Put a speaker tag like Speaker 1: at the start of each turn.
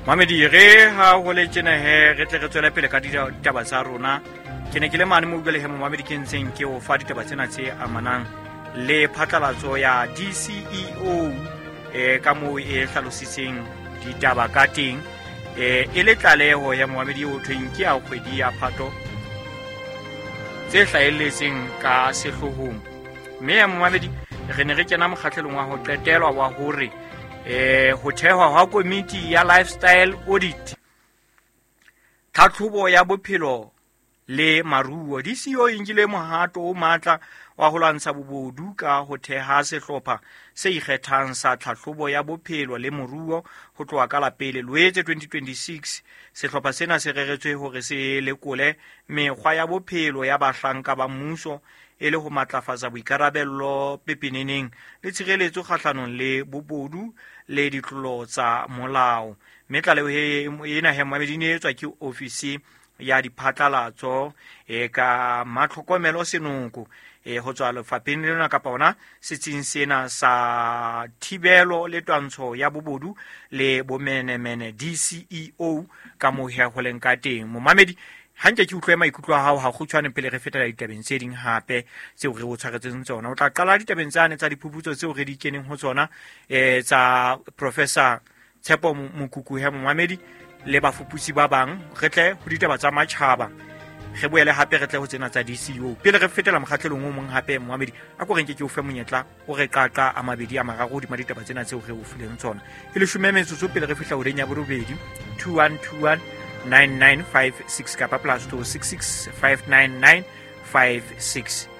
Speaker 1: Mamedi, re ha ho le tjena he, re tle re tswele pele ka ditaba tsa rona. Ke ne ke le mane mo utlwele he, momamedi, ke ntseng ke o fa ditaba tsena tse amanang le phatlalatso ya DCEO, ka moo e hlalositseng ditaba ka teng, e le tlaleho ya momamedi o thweng ke ya kgwedi ya Phato tse hlahelletseng ka sehloohong. Mme ya momamedi, re ne re kena mokgahlelong wa ho qetelwa wa hore ho thehwa hwa komiti ya lifestyle audit, tlhatlhobo ya bophelo le maruo. DCO e nkile mohato o matla wa ho lwantsha bobodu ka ho theha sehlopha se ikgethang sa tlhahlobo ya bophelo le moruo ho tloha ka la pele Loetse 2026. Sehlopha sena se reretswe hore se lekole mekgwa ya bophelo ya bahlanka ba mmuso e le ho matlafatsa boikarabello pepeneneng le tshireletso kgahlanong le bobodu le ditlolo tsa molao. Mme tlaleho ena he, momamedi, e ne etswa ke ofisi ya diphatlalatso ka Matlhokomelo Senoko, ho tswa lefapheng lena kapa ona setsing sena sa thibelo le twantsho ya bobodu le bomenemene, DCEO, ka moo he ho leng ka teng. Momamedi, hanke ke utlwe maikutlo a hao ha kgutshwane pele re fetela ditabeng tse ding hape tseo re o tshwaretseng tsona. O tla qala ditabeng tsane tsa diphuputso tseo re di keneng ho tsona, tsa Professor Tshepo Mokuku he, momamedi, le bafuputsi ba bang. Re tle ho ditaba tsa matjhaba, re boele hape re tle ho tsena tsa DCO pele re fetela mokgatlelong o mong hape. Momamedi, a ko renke ke o fe monyetla o re qaqa a mabedi a mararo hodima ditaba tsena tseo re o fileng tsona. E 10 metsotso pele re fihla horeng ya borobedi. 2121 9956 kapa +266 599 56.